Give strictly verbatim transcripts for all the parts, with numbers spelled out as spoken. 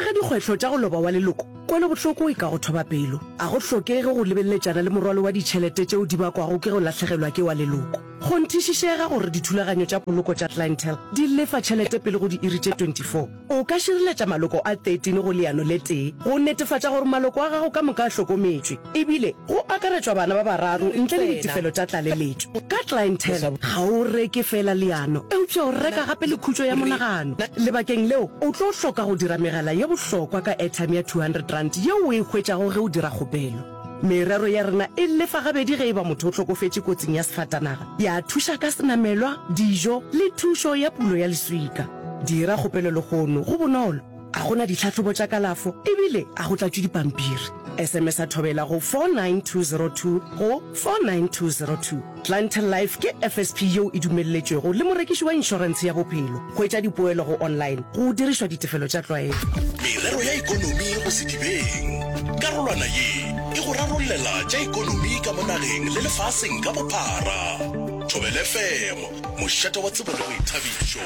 Gare ga dikgwetlho tša go loba wa leloko, kwelobohloko e ka go thoba pelo. A go hlokege go lebeleletšana le morwalo wa ditšhelete tšeo di bakwago ke go lahlegelwa ke wa leloko. Kgonthišišega gore dithulaganyo tša poloko tša Clientele di lefa tšhelete pele go diiri tše twenty four. O ka šireletša maloko a thirteen go leano le tee go netefatša gore maloko a gago ka moka a hlokometšwe, ebile go akaretšwa bana ba bararo ntle le ditefelo tša tlaleletšo. Ka Clientele, ga o reke feela leano, eupša o reka gape le khutšo ya monagano. Lebakeng leo, o tlo hloka go dira megala ye bohlokwa ka airtime ya two hundred rand yeo o e hwetšago ge o dira kgopelo. Merero ya rena e lefa gabedi ge e ba motho o hlokofetše kotsing ya sefatanaga, ya thuša ka senamelwa, dijo le thušo ya pulo ya leswika. Dira kgopelo lehono, go bonolo, ga go na ditlhahlobo tša kalafo ebile ga go tlatšwe dipampiri. S M S a thobela go four nine two zero two go four nine two zero two. Clientele Life ke F S P yeo e dumelletšwego le morekiši wa inšorentshe ya bophelo. Hwetša dipoelo go online go dirišwa ditefelo tša tlwaelo. Merero ya ekonomi go sedibeng. Karolwana ye e go rarollela tša ekonomi ka mo nageng le lefaseng ka bophara. Thobela F M, mošate wa tsebo le boithabišo.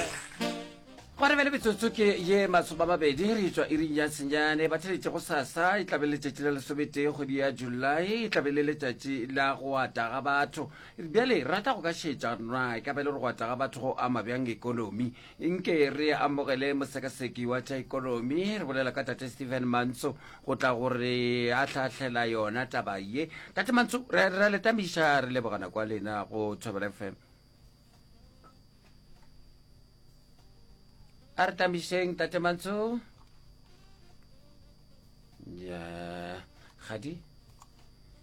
Gwa re bjale metsotso ke ye masome a mabedi re tšwa iring ya senyane. Batheletše go sasa e tlabe le letšatši la lesometee kgwedi ya July, e tlabe le letšatši la go ata ga batho. Bjale re rata go ka šetša na e ka ba e le gore go ata ga batho go ama bjang ekonomi. Nke re amogele mosekaseki wa tša ekonomi, re bolela ka Tate Stephen Mantso go tla gore a hlahlela yona taba ye. Tate Mantso, re a le tamiša, re leboga nako ya lena go Thobela F M. A re tamišeng Tate Mantso. Ya, gadi.